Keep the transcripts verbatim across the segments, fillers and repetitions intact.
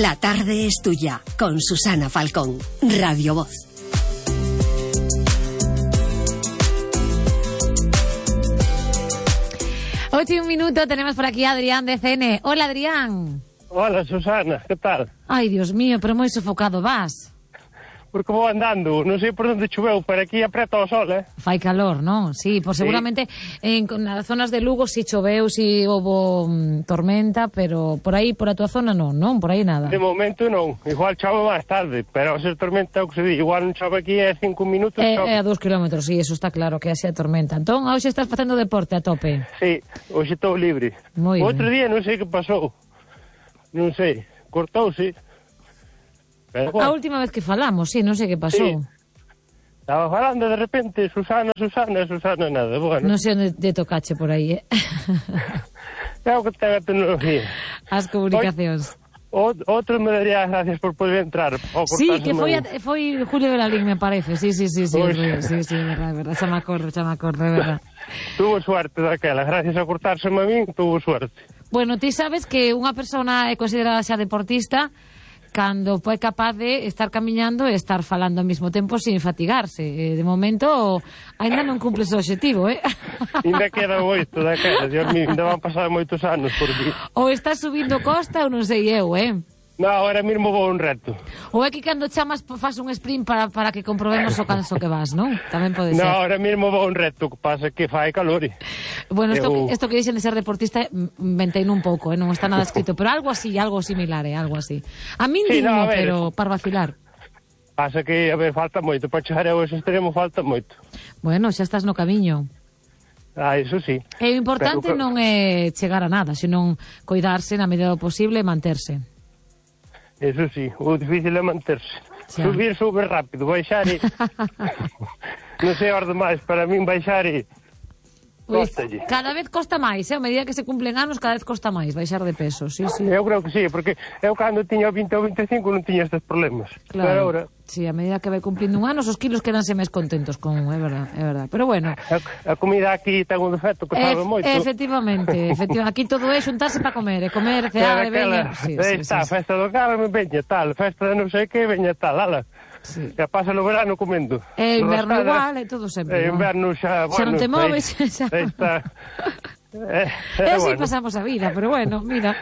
La tarde es tuya, con Susana Falcón, Radio Voz. Ocho y un minuto, tenemos por aquí a Adrián de C N. Hola, Adrián. Hola, Susana, ¿qué tal? Ay, Dios mío, pero moi sofocado vas. Porque vou andando, non sei por onde choveu, pero aquí apreta o sol, eh? Fai calor, non? Sí, pois Sí. seguramente en nas zonas de Lugo si choveu, si houve mm, tormenta, pero por aí, por a tua zona non, non? Por aí nada. De momento non, igual chove máis tarde, pero se tormenta o que se di, igual non chove aquí é cinco minutos, É, chove. é a dous kilómetros, sí, eso está claro, que é a tormenta. Entón, hoxe estás facendo deporte a tope. Sí, hoxe estou libre. Moi O outro ben. día non sei que pasou, non sei, cortouse. Pero, A bueno, última vez que falamos, sí, non sei que pasou. Sí. Estaba falando de repente, Susana, Susana, Susana, nada, bueno. Non sei onde te tocache por aí, eh? É o que ten a tecnología. As comunicacións. O, outro me daría as gracias por poder entrar. ao Sí, cortarse que o foi, meu- a, foi Julio Velalín, me parece. Sí, sí, sí, sí, Ui. Julio, sí, sí, é verdad, é verdad. Xa me acordo, xa me acordo, é verdad. Tuvo suerte daquela, gracias a cortárseme a min, tuvo suerte. Bueno, ti sabes que unha persona é considerada xa deportista cando foi capaz de estar camiñando e estar falando ao mesmo tempo sin fatigarse. Eh, de momento, ainda non cumples o objetivo, eh? Ainda queda moito daquela, Dios mío, ainda van pasar moitos anos por aquí. Ou estás subindo costa ou non sei eu, eh? No, ahora mesmo vou un reto. Ou é que cando chamas faz un sprint para, para que comprobemos o canso que vas, non? Tamén pode No, ser. ahora mesmo vou un reto, que pasa que fai calor. Bueno, esto, Eu- esto que dixen de ser deportista inventei un pouco, eh? Non está nada escrito, pero algo así, algo similar, eh? Algo así. A min Sí, digno, no, a ver. pero para vacilar. Pasa que, a ver, falta moito, para chegar ao ese extremo falta moito. Bueno, xa estás no camiño. Ah, eso sí. E o importante Pero- non é chegar a nada, senón coidarse na medida do posible e manterse. Eso sí, o difícil é manterse. Xa. Subir, sube rápido, baixar e... non sei orde máis, para min baixar e... Pois, Cóstalle. cada vez costa máis, eh? A medida que se cumplen anos, cada vez costa máis baixar de peso, sí, sí. Eu creo que sí, porque eu cando tiña vinte ou vinte e cinco non tiña estes problemas. Pero agora, Sí, a medida que vai cumplindo un anos, os kilos quedanse máis contentos con, é verdad, é verdad. Pero bueno, a, a comida aquí ten un defecto que sabe Ef- moito. efectivamente, efectivamente, aquí todo é xuntarse para comer, e comer, cear, e veña. Sí, Aí sí, está, sí, sí. festa do Carme, veña tal, festa de non sei que, veña tal, ala. Sí. Que pasa o verano comendo. E inverno Roscada, igual, e todo sempre E igual. inverno xa, bueno, Xa non te moves, aí, xa. aí está. Eh, E eh, así bueno, pasamos a vida, pero bueno, mira,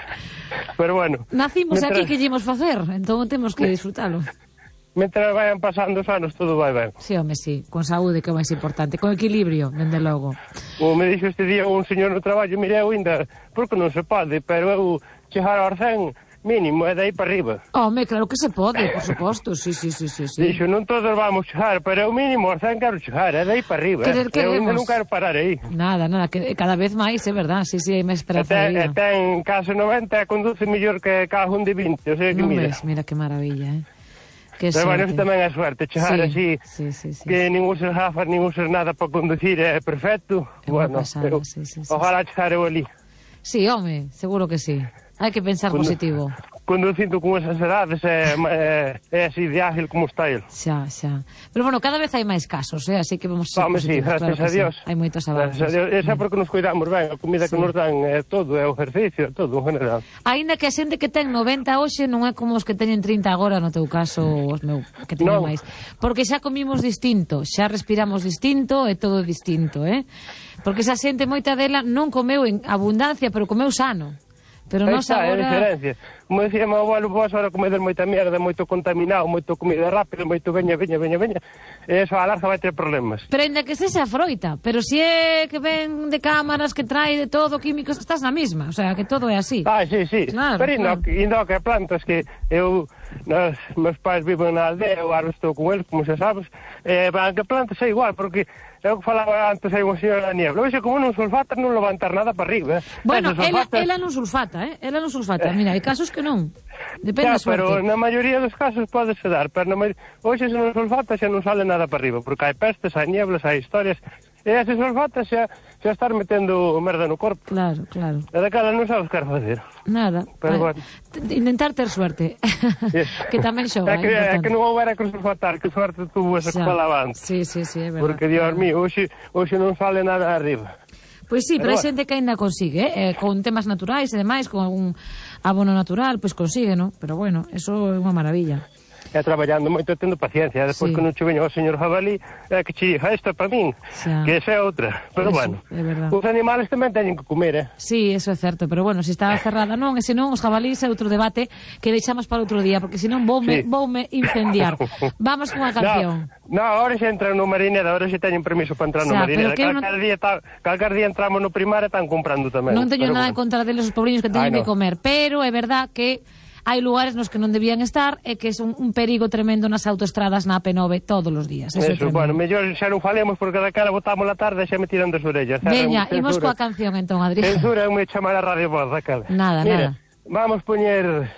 pero bueno. nacimos Mientras- aquí, que llevamos facer, entón temos que disfrutalo. Mientras vayan pasando os anos, todo vai ben. Sí, home, sí, con saúde, que é o máis importante, con equilibrio, dende logo. Como me dixo este día un señor no traballo, mire, eu ainda, porque non se pode, pero eu chegar aos cen mínimo, é dai para arriba. Home, claro que se pode, por suposto, sí, sí, sí, sí, sí. Dixo, non todos vamos chegar, pero eu mínimo aos cen quero chegar, é dai para arriba. Querer eh. Eu ainda queremos. non quero parar aí. Nada, nada, que cada vez máis, é verdad, sí, sí, hai máis E esperanza de ten, e vida. ten case noventa e conduce mellor que carro un de vinte, o sea que Non mira. ves, mira que maravilla, eh. Que Pero bueno, sorte. eso tamén é suerte, chegar Sí, así, sí, sí, sí, que sí. nin uses gafas, nin uses nada para conducir, é perfecto. É unha Bueno, pasada, eu, sí, sí, sí, ojalá chegar eu ali. Sí, home, seguro que sí. Hai que pensar Condu- positivo. Conducindo con esas edades é, é, é así de ágil como está ele. Xa, xa. Pero bueno, cada vez hai máis casos, eh? Así que vamos a ser Home, sí, positivos, gracias claro a que Dios. sí. Hai moitos avances. Gracias a Dios. Esa é porque nos cuidamos ben, a comida Sí. que nos dan é todo, é o ejercicio, é todo en general. Aínda que a xente que ten noventa hoxe non é como os que teñen trinta agora, no teu caso, os meu, que teñen Non. máis. Porque xa comimos distinto, xa respiramos distinto, é todo distinto, eh? Porque esa xente, moita dela, non comeu en abundancia, pero comeu sano. Pero Aí nos está, é a agora... diferencia. Como decía meu abuelo, vos ahora comedes moita mierda, moito contaminado, moito comida rápida, moito veña, veña, veña, veña, e eso a larga vai ter problemas. Pero ainda que sexa froita, pero se é que ven de cámaras, que trae de todo, químicos, estás na mesma, o sea, que todo é así. Ah, sí, sí. Claro, pero indo, claro. indo que plantas que eu, nos, meus pais viven na aldea, eu agora estou con eles, como xa sabes, eh, van que plantas é igual, porque é o que falaba antes aí unha señora da niebla. Oxe, como non sulfatas non levantar nada para arriba. Eh? Bueno, Esas ela, sulfatas- ela non sulfata, eh? Ela non sulfata. Mira, hai casos que non. Depende Ya, da suerte. pero na maioría dos casos pode se dar, pero na maioría... Hoxe se non sulfata xa non sale nada para arriba, porque hai pestes, hai nieblas, hai historias, e ese sulfata xa, xa estar metendo merda no corpo. Claro, claro. E daquela non sabes que facer. Nada. Pero Vai. bueno. T- Intentar ter suerte. Yes. Que tamén xoga, É que, é é que importante. non houbera que sulfatar, que suerte tuvo esa que Xa. falaba antes. Sí, sí, sí, é verdad. Porque, Dios mío, hoxe, hoxe non sale nada arriba. Pois sí, pero, Pero hai bueno. xente que aínda consigue, eh? eh, con temas naturais e demais, con algún, abono natural, pois consigue, non? Pero bueno, eso é unha maravilla. E traballando moito, tendo paciencia. Despois, Sí. que non che veño o señor jabalí, é que che diga, esta é para min, Xa. que esa é outra. Pero Eso, bueno, é verdad. os animales tamén teñen que comer, eh? Sí, eso é certo, pero bueno, se está cerrada non, e senón os jabalís é outro debate que deixamos para outro día, porque senón voume, Sí. voume incendiar. Vamos cunha canción. No, no, agora xa entran no Marineda, agora xa teñen permiso para entrar no Xa, Marineda. pero que eu non- Calcar, día ta, calcar día entramos no primario e están comprando tamén. Non teño Pero nada en bueno. contra deles os pobriños que teñen Ai, que no. comer, pero é verdad que hai lugares nos que non debían estar e que é un, un perigo tremendo nas autoestradas na A P nove todos os días. Eso, é Eso, tremendo. bueno, mellor xa non falemos porque da cara botamos la tarde e xa me tiran das orellas. Veña, Censura. imos coa canción entón, Adrián. Censura é me chamar a Radio Voz da cara. Nada, Mira, nada. vamos poñer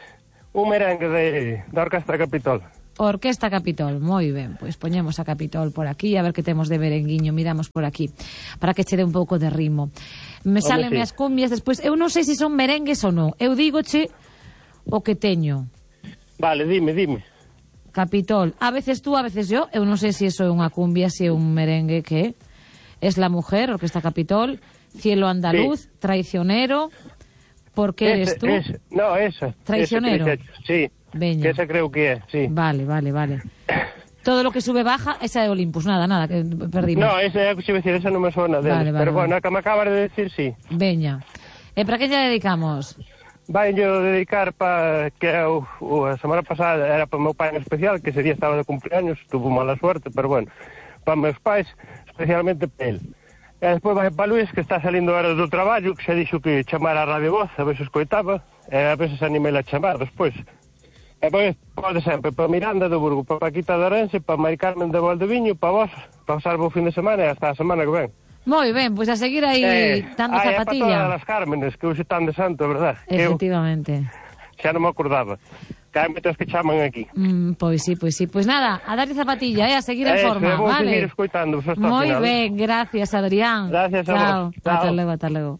un merengue de, da Orquestra Capitol. Orquesta Capitol, moi ben, pois poñemos a Capitol por aquí, a ver que temos de merenguiño, miramos por aquí, para que che dé un pouco de ritmo. Me salen sí. as cumbias despois, eu non sei se son merengues ou non, eu dígoche o que teño. Vale, dime, dime. Capitol, a veces tú, a veces yo, eu non sei se iso é unha cumbia, se é un merengue que es la mujer, Orquesta Capitol, Cielo Andaluz, Sí. Traicionero, ¿por qué eres Ese, tú? ese, no, esa. Traicionero. Ese, sí, Veña. que esa creo que é, sí. Vale, vale, vale. Todo lo que sube baja, esa é Olympus, nada, nada, que perdimos. No, esa é, se decir, esa non me suena deles. Vale, vale, pero bueno, vale. a que me acabas de decir, sí. Veña. E para que lle dedicamos? Vai yo dedicar para que o, o, a semana pasada era para o meu pai en especial, que ese día estaba de cumpleaños, tuvo mala suerte, pero bueno, para meus pais, especialmente para el. E despois vai para Luis, que está salindo ahora do traballo, que xa dixo que chamara a Radio Voz, a ver se escoitaba, e a ver se se animela a chamar despois. E pois, pode sempre, para Miranda do Burgo, para Paquita de Orense, para Mari Carmen de Valdeviño, para vos, para pasar o fin de semana e hasta a semana que ven. Moi ben, pois a seguir aí Eh, dando ai, é para zapatilla. todas as Cármenes, que hoxe están de santo, verdad? Que eu Efectivamente. xa non me acordaba. Que hai moitos que chaman aquí. Mm, pois sí, pois sí. Pois nada, a darlle zapatilla, eh, a seguir en Eso, forma, vou vale? seguir escoitando hasta o Moi final. ben, gracias, Adrián. Gracias a Chao. vos. Chao. Ata logo, ata logo.